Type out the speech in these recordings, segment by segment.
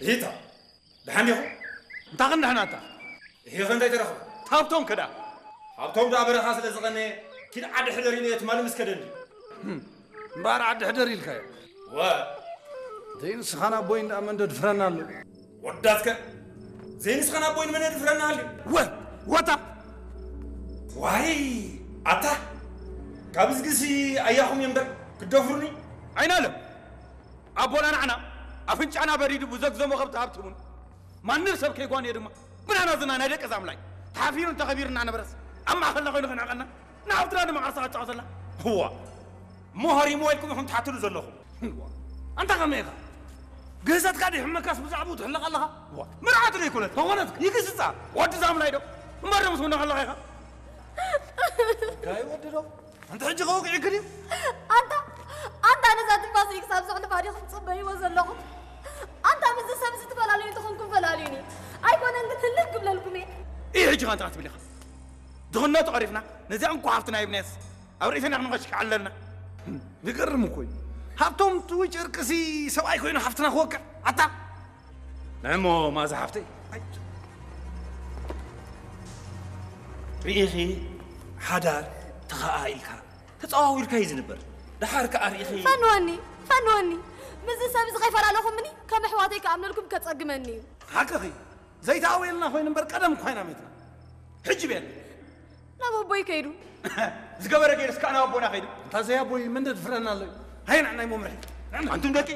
እሂታ፣ ደሓን ዲኹም? እንታ ክንድሕናታ? እሂኸ እንታይ ተረኽበ? ሃብቶም ከዳ? ሃብቶም ደኣ በረኻ ስለ ዝቐነየ፣ ኪድ ዓዲ ሕደር ኢለዮ ትማሊ ምስ ከደኒ። እምበኣር ዓዲ ሕደር ኢልካዮ። ወ ዘይንስኻን ኣቦይን ደኣ መን ደድፍረና ኣሎ? ወዳትከ ዘይንስኻን ኣቦይን መን ደድፍረና ኣሎ? ወ ወታ ዋይ ኣታ ካብ ዝግሲ ኣያኹም እዮም እምበር ክደፍሩኒ? ኣይናለም ኣቦና ንዓና ኣፍንጫና በሪዱ ብዘግዘሞ ከብቲ ሃብቲ እውን ማንም ሰብ ከይጓንዮ ድማ ብናና ዝና ናይ ደቂ ዛምላይ ተሓፊሩን ተኸቢሩን እናነበረስ ኣብ ማእኸልና ኮይኑ ክንዕቐና ንሃብትና ድማ ዓርሳ ኣጫወተላ። እዋ እሞ ሃሪሞ ኢልኩም ኢኹም ትሓትሉ ዘለኹም። እዋ ኣንታ ከመይ ኢኻ? ግህሰትካ ዲሕመካስ ብዛዕባኡ ትሕለቕ ኣለኻ? እዋ መርዓቱ ዶ ኣይኮነት? ተኾነት ይግስጻ። ወዲ ዛምላይ ዶ እምበር ዶ ምስ ወንዳ ከለኻ ኢኻ? ጋይ ወዲ ዶ ኣንተ ሕጂ ከወግዒ ክድዩ? ኣንታ ኣንታ ነዛ ትንፋሰይ ክሳብ ዘሕልፋ ዲኹም ትጽበይዎ ዘለኹም? ኣንታ ምስዚ ሰብ እዚ ትፈላለዩ እንተኾንኩም ፈላልዩኒ። ኣይኮነን ግን ህልክ ክብለልኩም እየ። እይ ሕጂ ኸንታ ክትብል ኢኻ። ድኽነቱ ቀሪፍና ነዚኣ እንኳ ሃፍትና ይብናየስ ኣብ ርእስና ክንኸሽክ ኣለና። ዝገርም እኮ እዩ። ሃብቶም ትውጭ እርቅሲ ሰብኣይ ኮይኑ ሃፍትና ክወቅዕ ኣታ ንዕሞ ማዛ ሓፍተይ ኣይ፣ ርኢኺ ሓዳር ተኸኣ ኢልካ ተጸዋዊርካ እዩ ዝንበር። ደሓር ከኣ ርኢኺ ፈንወኒ ፈንወኒ ምስዚ ሰብ እዚ ከይፈላለኹምኒ ከም ኣሕዋተይ ክኣምነልኩም ከጸግመኒ እዩ። ሓቅኺ ዘይተኣወየልና ኮይኑ እምበር ቀደም እኳ ኢና ሜትና ሕጂ ቤት ናብ ኣቦይ ከይዱ ዝገበረ ገይሩ እስካዕ ናብ ኣቦና ከይዱ እንታ ዘይ ኣቦይ ምን ደድፍረና ኣሎ። ሃይ ንዕናይ መምርሒ ኣንቱም ደቂ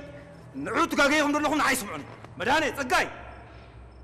ንዑ ትጋገይኹም ዘለኹም ንዓይ ስምዑኒ። መድሃኔ ጸጋይ